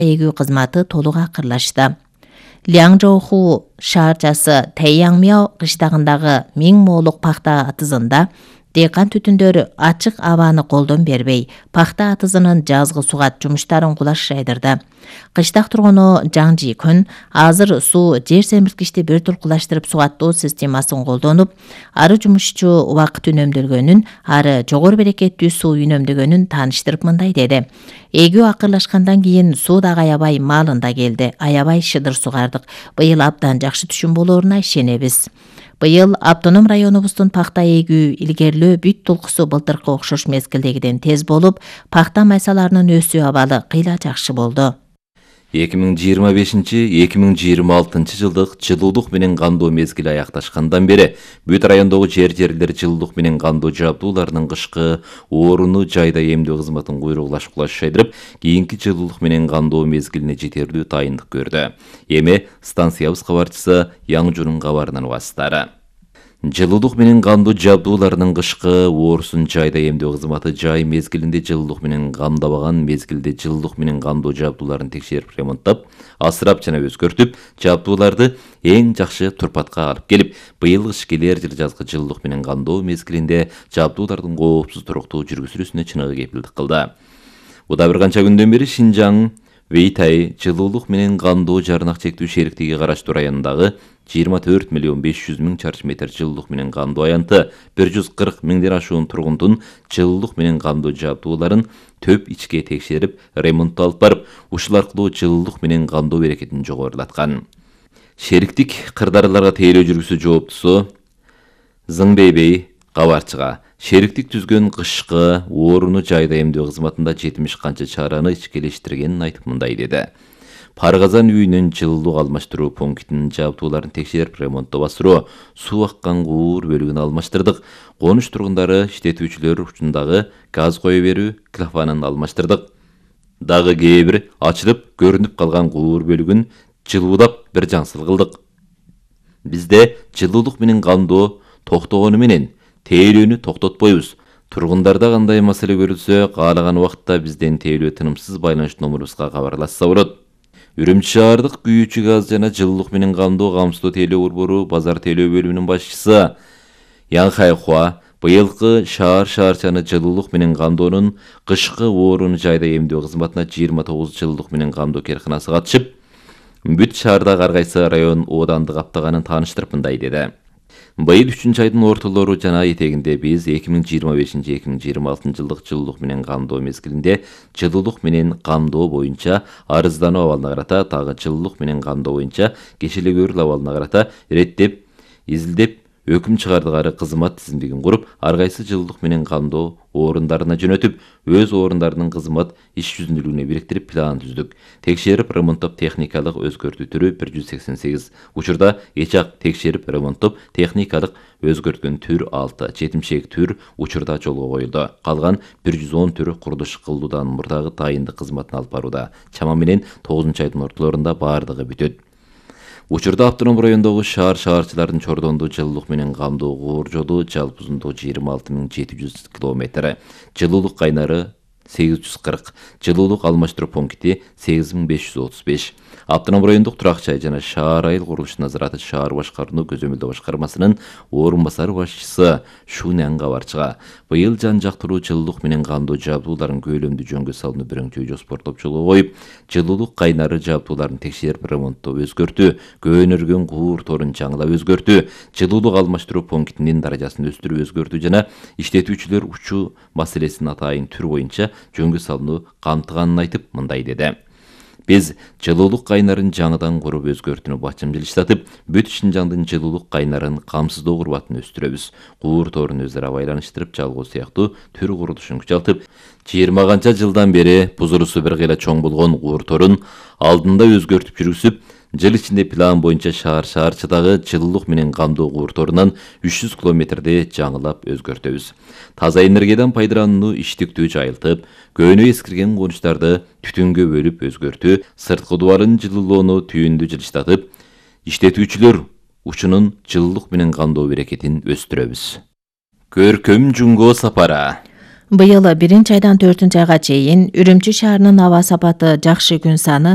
эгүү кызматы толук акырлашты. Лянжоуху шаарчасы Тэйяңмяо кыштагындагы 1000 моолук пахта атызында дыйкан түтүндөр ачык абаны колдон бербей, пахта атызынын жазгы сугат жумуштарын кулаш жайдырды. Кыштак тургуну Жаң Жикүн азыр суу жер семирткичти бир туркулаштырып сугаттоо системасын колдонуп, ары жумушчу убакыт үнөмдөлгөнүн, ары жогору берекеттүү суу үнөмдөгөнүн тааныштырып мындай деди. Эгүү акырлашкандан кийин суу дагы аябай маалында келди. Аябай шыдыр сугардык. Быйыл абдан жакшы түшүм болоруна ишенебиз. Быйыл автоном районубуздун пахта эгүү илгерлөө бүт толкусу былтыркы окшош мезгилдегиден тез болуп, пахта майсаларынын өсүү абалы кыйла жакшы болду. 2025-2026 жылдык жылуулук менен кандоо мезгили аякташкандан бери бүт райондогу жерлер жылуулук менен кандоо жабдууларынын кышкы орууну жайда эмдөө кызматын куйругулаш жайдырып, кийинки жылуулук менен кандоо мезгилине жетерлүү дайындык көрдү. Эми станциябыз кабарчысы Яңжунун кабарынан угасыздары. Жылуулук менен кандоо жабдууларынын кышкы оорусун жайда эмдөө кызматы жай мезгилинде жылуулук менен камдабаган мезгилде жылуулук менен кандоо жабдууларын текшерип ремонттап, асырап жана өзгөртүп, жабдууларды эң жакшы турпатка алып келип, быйыл кыш келер жыл жазгы жылуулук менен кандоо мезгилинде жабдуулардын коопсуз туруктуу жүргүзүлүүсүнө чыныгы кепилдик кылды. Буда бир канча күндөн бери Шинжаң Вейтай жылуулук менен кандоо жарнак чектүү шериктиги караштуу районундагы 24 миллион 500 миң чарчы метр жылуулук менен кандоо аянты 140 миңден ашуун тургундун жылуулук менен кандоо жабдууларын төп ичке текшерип, ремонттоо алып барып, ушул аркылуу жылуулук менен кандоо берекетин жогорулаткан. Шериктик кырдаарларга тейлөө жүргүзүү жооптусу Зыңбейбей кабарчыга шериктик түзгөн кышкы орууну жайда эмдөө кызматында 70 канча чараны ичкелештиргенин айтып мындай деди. Паргазан үйүнүн жылуулук алмаштыруу пунктинин жабдууларын текшерип, ремонттоо басыруу, суу аккан куур бөлүгүн алмаштырдык. Конуш тургундары иштетүүчүлөр учундагы газ кое берүү клапанын алмаштырдык. Дагы кээ бир ачылып көрүнүп калган куур бөлүгүн жылуулап бир жаңсыл кылдык. Бизде жылуулук менен кандоо токтогону менен тейлөөнү токтотпойбуз. Тургундарда кандай маселе көрүлсө, каалаган убакытта бизден тейлөө тынымсыз байланыш номерубузга кабарлашса болот. Үрүмчү шаардык күйүүчү газ жана жылуулук менен кандоо камсыздоо тейлөө борбору базар тейлөө бөлүмүнүн башчысы Яң Хайхуа быйылкы шаарчаны жылуулук менен кандоонун кышкы орууну жайда эмдөө кызматына 29 жылуулук менен кандоо керканасы катышып, бүт шаардагы ар кайсы район оодандык аптаганын тааныштырып мындай деди. Быйыл 3-айдын ортолору жана этегинде биз 2025-2026 жылдык жылуулук менен кандоо мезгилинде жылуулук менен кандоо боюнча арыздануу абалына карата, дагы жылуулук менен кандоо боюнча кешеле көрүл абалына карата иреттеп, изилдеп, өкүм чыгардыгары кызмат тизимдигин куруп, ар кайсы жылуулук менен кандоо орундарына жөнөтүп, өз орундарынын кызмат иш жүзүндүүлүгүнө бириктирип план түздүк. Текшерип, ремонттоп, техникалык өзгөртүү түрү 188, учурда эчак текшерип, ремонттоп, техникалык өзгөрткөн түр 6, жетимшек түр учурда жолго коюлду. Калган 110 түр курулуш кылуудан мурдагы дайындык кызматын алып барууда. Чама менен 9-айдын ортолорунда баардыгы бүтөт. Учурда автоном райондогу шаарчылардын чордондуу жылуулук менен камдоо куур жолу жалпы узундугу 26700 км, жылуулук кайнары 840, жылуулук алмаштыруу пункти 8535. Автоном райондук турак жай жана шаар айыл курулуш назараты шаар башкарууну көзөмөлдөө башкармасынын орун басары башчысы Шуняң кабарчыга быйыл жан жактыруу жылуулук менен кандоо жабдууларын көйлөмдүү жөнгө салууну биринчи жоспортоп жолго коюп, жылуулук кайнары жабдууларын текшерип, ремонттоо, өзгөртүү, көөнөргөн куур торун жаңылап өзгөртүү, жылуулук алмаштыруу пунктинин даражасын өстүрүп өзгөртүү жана иштетүүчүлөр учуу маселесин атайын түр боюнча жөнгө салууну камтыганын айтып мындай деди. Биз жылуулук кайнарын жаңыдан куруп өзгөртүүнү бачым жылыштатып, бүт Шинжаңдын жылуулук кайнарын камсыздоо курбатын өстүрөбүз. Куур торун өзара байланыштырып жалгоо сыяктуу түр курулушун күчалтып, 20 канча жылдан бери бузурусу бир кыйла чоң болгон куур торун алдында өзгөртүп жүргүзүп, жыл ичинде план боюнча шаарчыдагы жылуулук менен камдоо куур торунан 300 километрде жаңылап өзгөртөбүз. Таза энергиядан пайдаланууну иштиктүү жайылтып, көөнө эскирген конуштарды түтүнгө бөлүп өзгөртүү, сырткы дубарын жылуулоону түйүндү жылыштатып, иштетүүчүлөр учунун жылуулук менен кандоо берекетин өстүрөбүз. Көркөм Жунго сапара. Быйыл 1 айдан 4 айга чейин Үрүмчү шаарынын аба сапаты жакшы күн саны